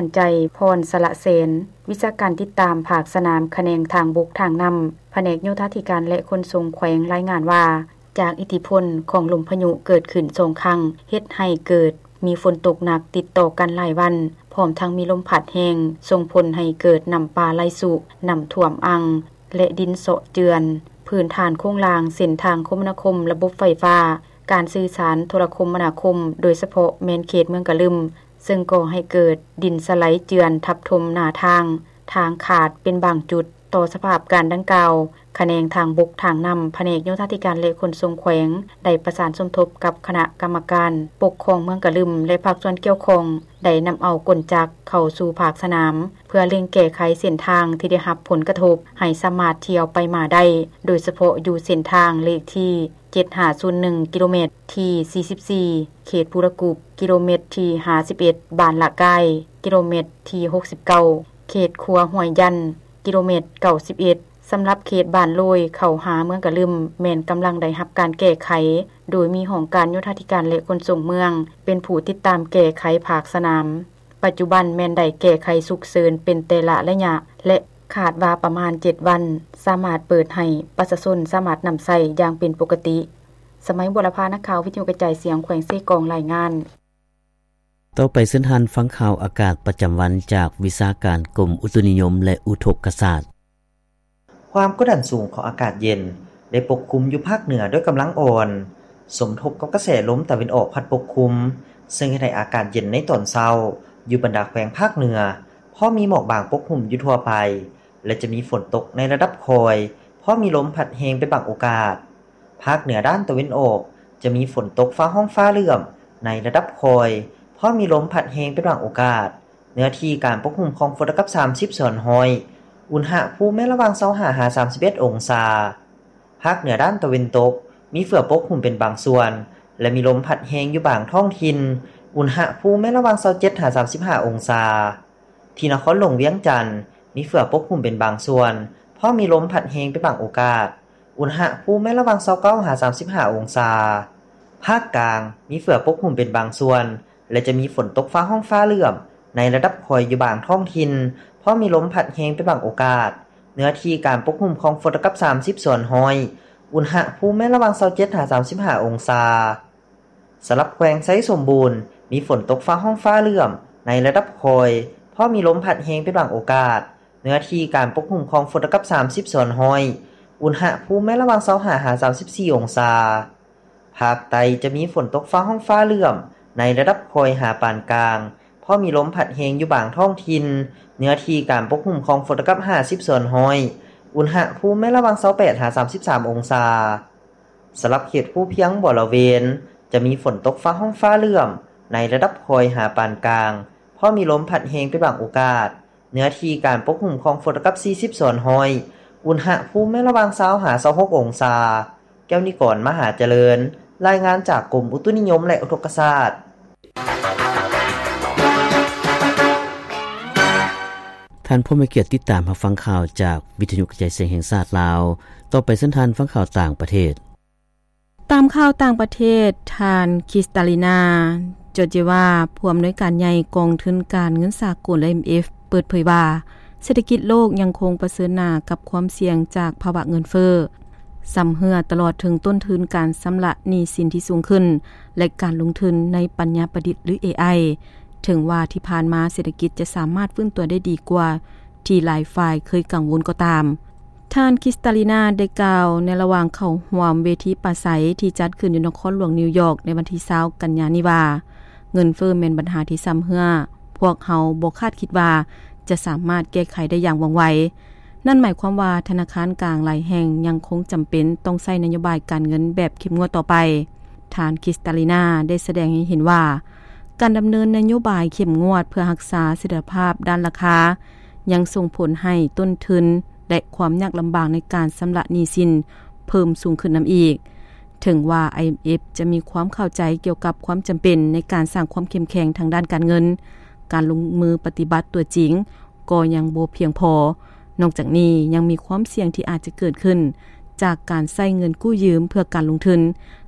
ອັນໄຈພອນ ສະລະແສນ, ວິຊາການຕິດຕາມພາກສະໜາມຂະແໜງທາງບົກທາງນ້ຳ, ພະແນກໂຍທາທິການ ແລະ ຂົນສົ່ງແຂວງ ລາຍງານວ່າ ຈາກອິດທິພົນຂອງລົມພະຍຸເກີດຂຶ້ນສອງຄັ້ງ ເຮັດໃຫ້ເກີດມີຝົນຕົກໜັກຕິດຕໍ່ກັນຫຼາຍວັນ, ພ້ອມທັງມີລົມພັດແຮງ ສົ່ງຜົນໃຫ້ເກີດນ້ຳປ່າໄຫຼຊຸ, ນ້ຳຖ້ວມອ່າງ ແລະ ດິນເຊາະເຈື່ອນ, ພື້ນຖານໂຄງລ່າງ, ເສັ້ນທາງຄົມມະນາຄົມ, ລະບົບໄຟຟ້າ, ການສື່ສານ, ໂທລະຄົມມະນາຄົມ, ໂດຍສະເພາະແມ່ນເຂດເມືອງກະລຶມ, ເຊິ່ງກໍ່ໃຫ້ເກີດດິນສະໄຫຼເຈື່ອນທັບຖົມໜ້າທາງ, ທາງຂາດເປັນບາງຈຸດ. ຕໍ່ສະພາບການດັ່ງກ່າວ, ຂະແໜງທາງບົກທາງນ້ຳ, ພະແນກໂຍທາທິການ ແລະ ຂົນສົ່ງແຂວງ ໄດ້ປະສານສົມທົບກັບຄະນະກຳມະການປົກຄອງເມືອງກະລຶມ ແລະ ພາກສ່ວນກ່ຽວຂ້ອງ ໄດ້ນຳເອົາກົນຈັກເຂົ້າສູ່ພາກສະໜາມ ເພື່ອເລັ່ງແກ້ໄຂເສັ້ນທາງທີ່ໄດ້ຮັບຜົນກະທົບ ໃຫ້ສາມາດທ່ຽວໄປມາໄດ້, ໂດຍສະເພາະຢູ່ເສັ້ນທາງເລກທີ ເຈັດຫ້າສູນໜຶ່ງ ກິໂລແມັດທີສີ່ສິບສີ່ ເຂດພູລະກຸບ, ກິໂລແມັດທີຫ້າສິບເອັດ ບ້ານລະກາຍ, ກິໂລແມັດທີຫົກສິບເກົ້າ ເຂດຂົວຫ້ວຍຢັນ, ກິໂລແມັດເກົ້າສິບເອັດ. ສຳລັບເຂດບ້ານໂລຍເຂົ້າຫາເມືອງກະລຶມ ແມ່ນກຳລັງໄດ້ຮັບການແກ້ໄຂ ໂດຍມີຫ້ອງການໂຍທາທິການ ແລະ ຂົນສົ່ງເມືອງ ເປັນຜູ້ຕິດຕາມແກ້ໄຂພາກສະໜາມ. ປັດຈຸບັນແມ່ນໄດ້ແກ້ໄຂສຸກເສີນເປັນແຕ່ລະໄລຍະ ແລະ ຄາດວ່າປະມານເຈັດວັນ ສາມາດເປີດໃຫ້ປະຊາຊົນສາມາດນຳໃຊ້ຢ່າງເປັນປົກກະຕິ. ສະໄໝ ບົວລະພາ ນັກຂ່າວວິທະຍຸກະຈາຍສຽງແຂວງເຊກອງ ລາຍງານ. ຕໍ່ໄປເຊີນທ່ານຟັງຂ່າວອາກາດປະຈຳວັນຈາກວິຊາການກົມອຸຕຸນິຍົມ ແລະ ອຸທົກກະສາດ. ຄວາມກົດດັນສູງຂອງອາກາດເຢັນໄດ້ປົກຄຸມຢູ່ພາກເໜືອດ້ວຍກຳລັງອ່ອນ, ສົມທົບກັບກະແສລົມຕາເວັນອອກພັດປົກຄຸມ, ເຊິ່ງເຮັດໃຫ້ອາກາດເຢັນໃນຕອນເຊົ້າຢູ່ບັນດາແຂວງພາກເໜືອ ພໍມີໝອກບາງປົກຫຸ້ມຢູ່ທົ່ວໄປ ແລະ ຈະມີຝົນຕົກໃນລະດັບຄ່ອຍ, ພໍມີລົມພັດແຮງເປັນບາງໂອກາດ. ພາກເໜືອດ້ານຕາເວັນອອກ ຈະມີຝົນຕົກຟ້າຮ້ອງຟ້າເຫຼື້ອມໃນລະດັບຄ່ອຍ, ພໍມີລົມພັດແຮງເປັນບາງໂອກາດ. ເນື້ອທີ່ການປົກຫຸ້ມຂອງຝົນລະດັບສາມສິບສ່ວນຮ້ອຍ, ອຸນຫະພູມແມ່ນລະຫວ່າງຊາວຫ້າຫາສາມສິບເອັດອົງສາ. ພາກເໜືອດ້ານຕາເວັນຕົກ ມີເຝືອປົກຫຸ້ມເປັນບາງສ່ວນ ແລະ ມີລົມພັດແຮງຢູ່ບາງທ້ອງຖິ່ນ, ອຸນຫະພູມແມ່ນລະຫວ່າງຊາວເຈັດຫາສາມສິບຫ້າອົງສາ. ທີ່ນະຄອນຫຼວງວຽງຈັນ ມີເຝືອປົກຫຸ້ມເປັນບາງສ່ວນ, ພໍມີລົມພັດແຮງເປັນບາງໂອກາດ, ອຸນຫະພູມແມ່ນລະຫວ່າງຊາວເກົ້າຫາສາມສິບຫ້າອົງສາ. ພາກກາງ ມີເຝືອປົກຫຸ້ມເປັນບາງສ່ວນ ແລະ ຈະມີຝົນຕົກຟ້າຮ້ອງຟ້າເຫຼື້ອມໃນລະດັບຄ່ອຍຢູ່ບາງທ້ອງຖິ່ນ, ພໍມີລົມພັດແຮງເປັນບາງໂອກາດ. ເນື້ອທີ່ການປົກຫຸ້ມຂອງຝົນລະດັບສາມສິບສ່ວນຮ້ອຍ, ອຸນຫະພູມແມ່ນລະຫວ່າງຊາວເຈັດຫາສາມສິບຫ້າອົງສາ. ສຳລັບແຂວງໄຊສົມບູນ ມີຝົນຕົກຟ້າຮ້ອງຟ້າເຫຼື້ອມໃນລະດັບຄ່ອຍ, ພໍມີລົມພັດແຮງເປັນບາງໂອກາດ. ເນື້ອທີ່ການປົກຫຸ້ມຂອງຝົນລະດັບສາມສິບສ່ວນຮ້ອຍ, ອຸນຫະພູມແມ່ນລະຫວ່າງຊາວຫ້າຫາສາມສິບສີ່ອົງສາ. ພາກໃຕ້ຈະມີຝົນຕົກຟ້າຮ້ອງຟ້າເຫຼື້ອມໃນລະດັບຄ່ອຍຫາປານກາງ, ພໍມີລົມພັດແຮງຢູ່ບາງທ້ອງຖິ່ນ. ເນື້ອທີ່ການປົກຫຸ້ມຂອງຝົນລະດັບຫ້າສິບສ່ວນຮ້ອຍ, ອຸນຫະພູມແມ່ນລະຫວ່າງຊາວແປດຫາສາມສິບສາມອົງສາ. ສຳລັບເຂດພູພຽງບໍລະເວນ ຈະມີຝົນຕົກຟ້າຮ້ອງຟ້າເຫຼື້ອມໃນລະດັບຄ່ອຍຫາປານກາງ, ພໍມີລົມພັດແຮງເປັນບາງໂອກາດ. ເນື້ອທີ່ການປົກຫຸ້ມຂອງຝົນລະດັບສີ່ສິບສ່ວນຮ້ອຍ, ອຸນຫະພູມແມ່ນລະຫວ່າງຊາວຫາຊາວຫົກອົງສາ. ແກ້ວນິກອນ ມະຫາຈະເລີນ, ລາຍງານຈາກກົມອຸຕຸນິຍົມ ແລະ ອຸທົກກະສາດ. ທ່ານຜູ້ມີກຽດຕິດຕາມຮັບຟັງຂ່າວຈາກວິທະຍຸກະຈາຍສຽງແຫ່ງຊາດລາວ. ຕໍ່ໄປເຊີນທ່ານຟັງຂ່າວຕ່າງປະເທດ. ຕາມຂ່າວຕ່າງປະເທດ, ທ່ານ ຄຣິສຕາລີນາ ຈອດເຈວາ ຜູ້ອຳນວຍການໃຫຍ່ກອງທຶນການເງິນສາກົນ ໄອເອັມເອັຟ ເປີດເຜີຍວ່າ ເສດຖະກິດໂລກຍັງຄົງປະເຊີນໜ້າກັບຄວາມສ່ຽງຈາກພາວະເງິນເຟີ້ຊຳເຮື້ອ, ຕະຫຼອດເຖິງຕົ້ນທຶນການຊຳລະໜີ້ສິນທີ່ສູງຂຶ້ນ ແລະ ການລົງທຶນໃນປັນຍາປະດິດ ຫຼື ເອໄອ. ເຖິງວ່າທີ່ຜ່ານມາເສດຖະກິດຈະສາມາດຟື້ນຕົວໄດ້ດີກວ່າ ທີ່ຫຼາຍຝ່າຍເຄີຍກັງວົນກໍຕາມ, ທ່ານ ຄຣິສຕາລີນາ ໄດ້ກ່າວໃນລະຫວ່າງເຂົ້າຮ່ວມເວທີປາໄສທີ່ຈັດຂຶ້ນຢູ່ນະຄອນຫຼວງນິວຢອກໃນວັນທີຊາວ ກັນຍານີ້ວ່າ, ເງິນເຟີ້ແມ່ນບັນຫາທີ່ຊຳເຮື້ອ, ພວກເຮົາບໍ່ຄາດຄິດວ່າຈະສາມາດແກ້ໄຂໄດ້ຢ່າງວ່ອງໄວ. ນັ້ນໝາຍຄວາມວ່າທະນາຄານກາງຫຼາຍແຫ່ງຍັງຄົງຈຳເປັນຕ້ອງໃຊ້ນະໂຍບາຍການເງິນແບບເຂັ້ມງວດຕໍ່ໄປ. ທ່ານ ຄຣິສຕາລີນາ ໄດ້ສະແດງໃຫ້ເຫັນວ່າ ການດຳເນີນນະໂຍບາຍເຂັ້ມງວດເພື່ອຮັກສາສະຖຽນລະພາບດ້ານລາຄາ ຍັງສົ່ງຜົນໃຫ້ຕົ້ນທຶນ ແລະ ຄວາມຍາກລຳບາກໃນການຊຳລະໜີ້ສິນເພີ່ມສູງຂຶ້ນນຳອີກ. ເຖິງວ່າ ໄອເອັມເອັຟ ຈະມີຄວາມເຂົ້າໃຈກ່ຽວກັບຄວາມຈຳເປັນໃນການສ້າງຄວາມເຂັ້ມແຂງທາງດ້ານການເງິນ, ການລົງມືປະຕິບັດຕົວຈິງກໍຍັງບໍ່ພຽງພໍ. ນອກຈາກນີ້, ຍັງມີຄວາມສ່ຽງທີ່ອາດຈະເກີດຂຶ້ນຈາກການໃຊ້ເງິນກູ້ຢືມເພື່ອການລົງທຶນ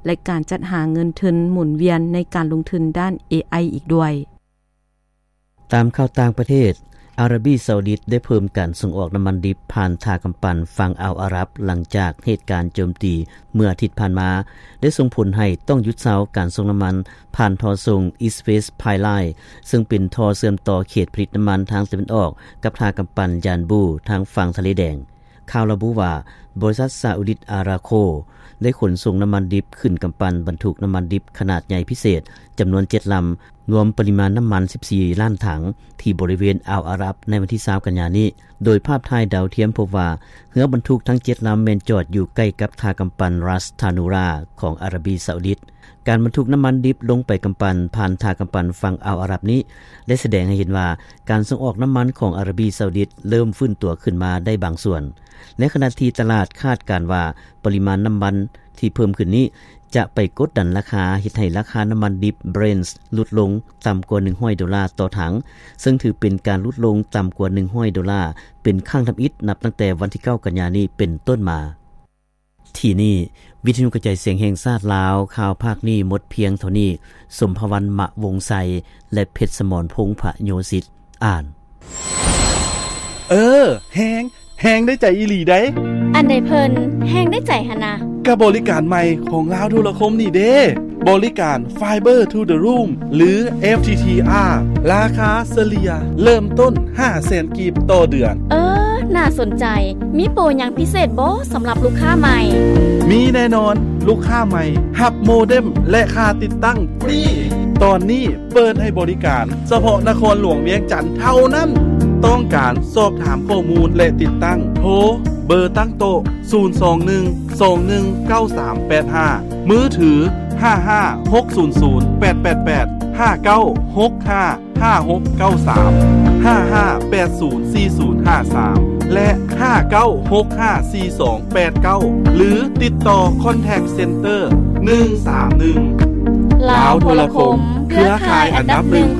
ແລະ ການຈັດຫາເງິນທຶນໝູນວຽນໃນການລົງທຶນດ້ານເອໄອອີກດ້ວຍ. ຕາມຂ່າວຕ່າງປະເທດ, ອາຣາບີຊາອຸດິດໄດ້ເພີ່ມການສົ່ງອອກນ້ຳມັນດິບຜ່ານທ່າກຳປັ່ນຝັ່ງອ່າວອາຣັບ ຫຼັງຈາກເຫດການໂຈມຕີເມື່ອອາທິດຜ່ານມາ ໄດ້ສົ່ງຜົນໃຫ້ຕ້ອງຢຸດເຊົາການສົ່ງນ້ຳມັນຜ່ານທໍ່ສົ່ງ East West Pipeline ເຊິ່ງເປັນທໍ່ເຊື່ອມຕໍ່ເຂດຜະລິດນ້ຳມັນທາງຕາເວັນອອກກັບທ່າກຳປັ່ນຢານບູທາງຝັ່ງທະເລແດງ. ຂ່າວລະບຸວ່າ ບໍລິສັດຊາອຸດິດອາຣາໂຄ ໄດ້ຂົນສົ່ງນ້ຳມັນດິບຂຶ້ນກຳປັ່ນບັນທຸກນ້ຳມັນດິບຂະໜາດໃຫຍ່ພິເສດຈຳນວນເຈັດລຳ ລວມປະລິມານນ້ຳມັນສິບສີ່ລ້ານຖັງ ທີ່ບໍລິເວນອ່າວອາຣັບໃນວັນທີຊາວກັນຍານີ້. ໂດຍພາບຖ່າຍດາວທຽມພົບວ່າ ເຮືອບັນທຸກທັງເຈັດລຳແມ່ນຈອດຢູ່ໃກ້ກັບທ່າກຳປັ່ນຣັສທານູຣາຂອງອາຣາບີຊາອຸດິດ. ການບັນທຸກນ້ຳມັນດິບລົງໄປກຳປັ່ນຜ່ານທ່າກຳປັ່ນຝັ່ງອ່າວອາຣັບນີ້ ໄດ້ສະແດງໃຫ້ເຫັນວ່າ ການສົ່ງອອກນ້ຳມັນຂອງອາຣາບີຊາອຸດິດເລີ່ມຟື້ນຕົວຂຶ້ນມາໄດ້ບາງສ່ວນ. ໃນຂະນະທີ່ຕະຫຼາດຄາດການວ່າ ປະລິມານນ້ຳມັນທີ່ເພີ່ມຂຶ້ນນີ້ ຈະໄປກົດດັນລາຄາ ເຮັດໃຫ້ລາຄານ້ຳມັນດິບ Brent ຫຼຸດລົງຕ່ຳກວ່າໜຶ່ງຮ້ອຍໂດລາຕໍ່ຖັງ, ເຊິ່ງຖືເປັນການຫຼຸດລົງຕ່ຳກວ່າໜຶ່ງຮ້ອຍໂດລາ ເປັນຄັ້ງທຳອິດນັບຕັ້ງແຕ່ວັນທີເກົ້າກັນຍານີ້ເປັນຕົ້ນມາ. ທີ່ນີ້ ວິທະຍຸກະຈາຍສຽງແຫ່ງຊາດລາວ, ຂ່າວພາກນີ້ໝົດພຽງເທົ່ານີ້. ສົມພະວັນ ມະວົງໄຊ ແລະ ເພັດສະໝອນ ພົງພະໂຍສິດ ອ່ານ. ເອີ ແຮງ ແຮງໄດ້ໃຈອີ່ຫຼີໃດ໋. ອັນໃດເພິ່ນແຮງໄດ້ໃຈຫັ້ນນະ? ກະບໍລິການໃໝ່ຂອງລາວໂທລະຄົມນີ້ເດ້ ບໍລິການ Fiber to the Room ຫຼື FTTR ລາຄາສະເລ່ຍເລີ່ມຕົ້ນຫ້າແສນກີບຕໍ່ເດືອນ. ເອີ ໜ້າສົນໃຈ. ມີໂປຫຍັງພິເສດບໍ່ສຳລັບລູກຄ້າໃໝ່? ມີແນ່ນອນ, ລູກຄ້າໃໝ່ຮັບໂມເດັມ ແລະ ຄ່າຕິດຕັ້ງຟຣີ. ຕອນນີ້ເປີດໃຫ້ບໍລິການສະເພາະນະຄອນຫຼວງວຽງຈັນເທົ່ານັ້ນ. ຕ້ອງການສອບຖາມຂໍ້ມູນ ແລະ ຕິດຕັ້ງ, ໂທເບີຕັ້ງໂຕະ ສູນສອງໜຶ່ງ ສອງໜຶ່ງ ເກົ້າສາມແປດຫ້າ, ມືຖື ຫ້າຫ້າ ຫົກສູນສູນ ແປດແປດແປດ ຫ້າເກົ້າ ຫົກຫ້າ ຫ້າຫົກເກົ້າສາມ, ຫ້າຫ້າແປດສູນສີ່ສູນຫ້າສາມ ແລະ ຫ້າເກົ້າຫົກຫ້າສີ່ສອງແປດເກົ້າ ຫຼື ຕິດຕໍ່ Contact Center ໜຶ່ງສາມໜຶ່ງ. ລາວໂທລະຄົມ ເຄືອຂ່າຍອັນດັບໜຶ່ງ